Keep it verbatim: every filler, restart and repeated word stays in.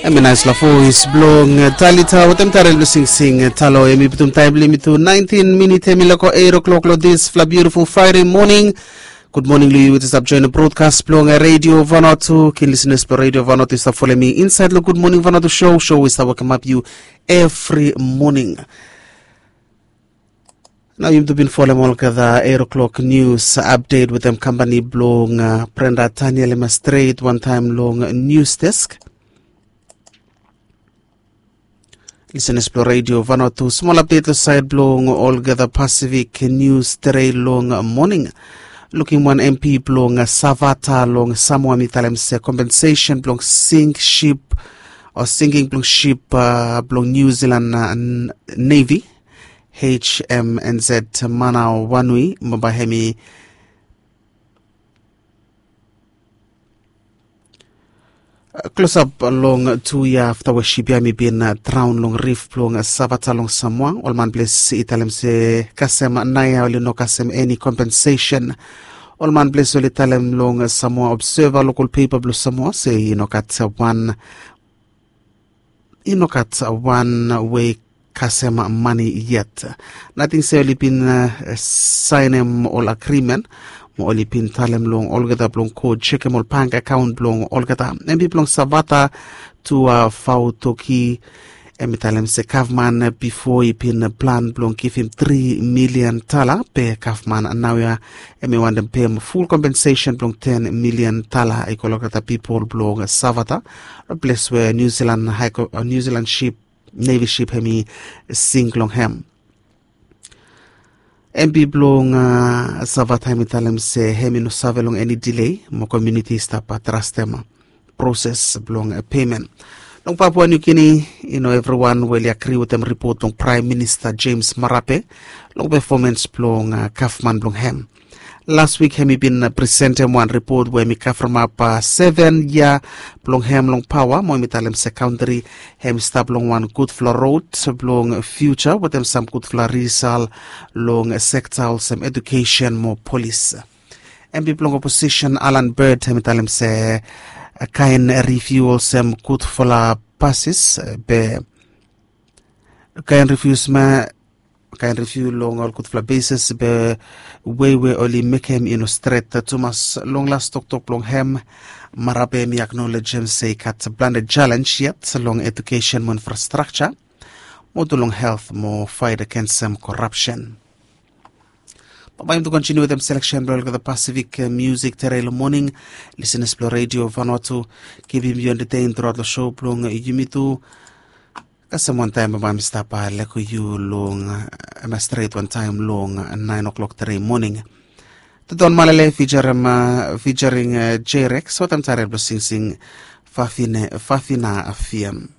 Em i naispela voes blong Talita wetem Tarel blong singsing talo. Em i putum taim blong yumi tu naintin minit em i loko eight o'clock long dispela beautiful Friday morning. Good morning long yu we stap join broadcast blong Radio Vanuatu. Kin listeners blong Radio Vanuatu i stap folem mi inside long Good Morning Vanuatu show. Show we stap wekemap yu every morning. Nau yumi tu bin folem olgeta eight o'clock news update wetem kampani blong uh, Brenda Daniel Emma Strait wantaim long news desk. Listeners blong Radio Vanuatu, smol update long side blong olgeta Pacific news tere long morning. Lukim wan M P blong Savata long Samoa mi talem se compensation blong sink ship o sinking blong ship uh, blong New Zealand uh, Navy H M N Z Manau Wanui mo bai hem i klosap long tu yia afta we sip ya mi bin draun long rif blong Savata long Samoa. Ol man ples i talem se kasem naia oli no kasem eni kompensesen. Ol man ples oli talem long Samoa Observer, lokol pepa blong Samoa, se i no gat wan i no gat wan we kasem mani yet. Nating se oli bin saenem ol agrimen mo oli bin talem long olgeta blong go jekem ol bank akaon blong olgeta. Em i blong Savata tu Fautoki. Em i talem se gavman bipo i bin plan blong givim tri milian tala, be gavman naoia em i wantem pem ful kompensesen blong ten milian tala i go long olgeta pipol blong Savata, ples we New Zealand ship, Navy ship hem i sink long hem. M P blong Savata hem i talem se hem i no save long eni delay mo komuniti i stap trastem proses blong peimen. Long Papua New Guinea, i no evriwan we oli agri wetem ripot blong Praem Minista James Marape long pefomens blong gavman blong hem. Las wik hem i bin presentem wan ripot we hem i kavremap seven yia blong hem long paoa mo hem i talem se kantri hem i stap long wan gudfala rod blong fiuja wetem sam gudfala risal long sekta olsem edukesen mo polis. M P blong oposisen Alan Bird hem i talem se kaen riviu olsem gudfala pasis be kaen riviu sma kaen riviu long ol gudfala besis be wei we oli mekem i no stret tumas. Long las toktok blong hem, Marape hem i aknolejem se i gat plante jalenj yet long edukesen mo infrastrakja mo tu long helt mo fait agensem korapsen. Bambae yumi tu kontiniu wetem seleksen blong olgeta Pasifik musik tere long moning. Lisenas blong redio Vanuatu, givim yu entetein truaot long show blong yumi tu. Kasem wantaem bambae mi stap leko yu long em ya stret wantaem long naen o'klok tere moning. Toton Malele fijarim fijaring J-Rex wantaem tare blong singsing Fafina Fiem.